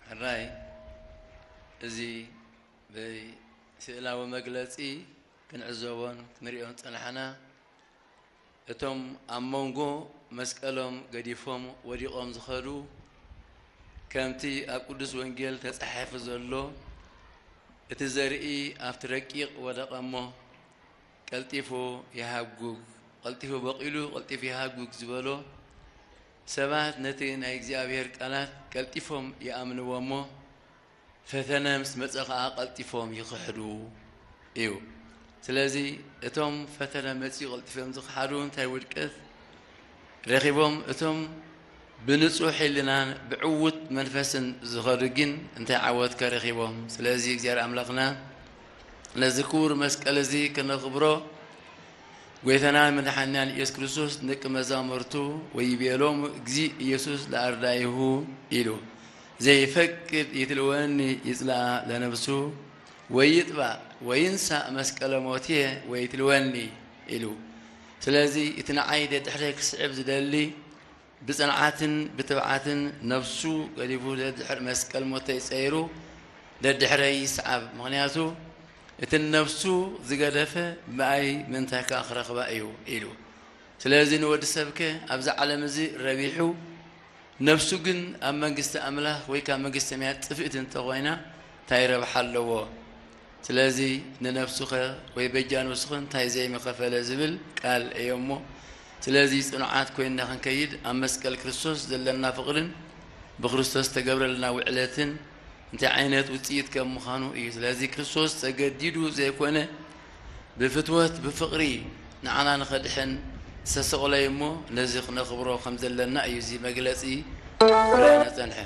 ሕራይ እዚ ብስእላዊ መግለጺ ክንዕዘቦን ክንሪኦን ጸናሕና። እቶም ኣብ መንጎ መስቀሎም ገዲፎም ወዲቖም ዝኸዱ፣ ከምቲ ኣብ ቅዱስ ወንጌል ተጻሒፉ ዘሎ፣ እቲ ዘርኢ ኣብቲ ረቂቕ ወደቐ እሞ ቀልጢፉ ይሃጉግ፣ ቀልጢፉ በቒሉ ቀልጢፉ ይሃጉግ ዝበሎ፣ ሰባት ነቲ ናይ እግዚኣብሔር ቃላት ቀልጢፎም ይኣምንዎ እሞ፣ ፈተነ ምስ መጸ ኸኣ ቀልጢፎም ይኽሕዱ እዩ። ስለዚ እቶም ፈተነ መጺኡ ቀልጢፎም ዝኽሓዱ እንታይ ውድቀት ረኺቦም? እቶም ብንጹሕ ሕልናን ብዕዉት መንፈስን ዝኸዱ ግን እንታይ ዓወት ከረኺቦም? ስለዚ እግዚኣብሔር ኣምላኽና ነዚ ክቡር መስቀል እዚ ክነኽብሮ፣ ጎይታናን መድሓኒናን ኢየሱስ ክርስቶስ ንደቂ መዛሙርቱ ወይቤሎሙ እግዚእ ኢየሱስ ለኣርዳኢሁ ኢሉ፣ ዘይፈቅድ ይትልወኒ ይጽልኣ ለነብሱ ወይጥባእ ወይንሳእ መስቀለ ሞትየ ወይትልወኒ ኢሉ። ስለዚ እቲ ንዓይ ደድሕረ ክስዕብ ዝደሊ ብጽንዓትን ብትብዓትን ነፍሱ ገዲፉ ደድሕር መስቀል ሞተይ ጸይሩ ደድሕረይ ይስዓብ። ምኽንያቱ እቲ ነፍሱ ዝገደፈ ብኣይ ምእንታይ ከኣ ክረኽባ እዩ ኢሉ። ስለዚ ንወዲ ሰብከ ኣብዚ ዓለም እዚ ረቢሑ ነፍሱ ግን ኣብ መንግስቲ ኣምላኽ ወይ ካብ መንግስቲ ሰማያት ጥፍእቲ እንተኾይና እንታይ ረብሓ ኣለዎ? ስለዚ ንነፍሱኸ ወይ በጃ ነፍሱኸ እንታይ ዘይምኸፈለ ዝብል ቃል እዮ እሞ፣ ስለዚ ጽኑዓት ኮይንና ክንከይድ ኣብ መስቀል ክርስቶስ ዘለና ፍቕርን ብክርስቶስ ተገብረልና ውዕለትን እንታይ ዓይነት ውጽኢት ከም ምዃኑ እዩ። ስለዚ ክርስቶስ ተገዲዱ ዘይኮነ ብፍትወት ብፍቕሪ ንዓና ንኸድሕን ዝተሰቕለ እዩ እሞ ነዚ ክነኽብሮ ከም ዘለና እዩ እዚ መግለጺ ክረኣየና ጸንሐ።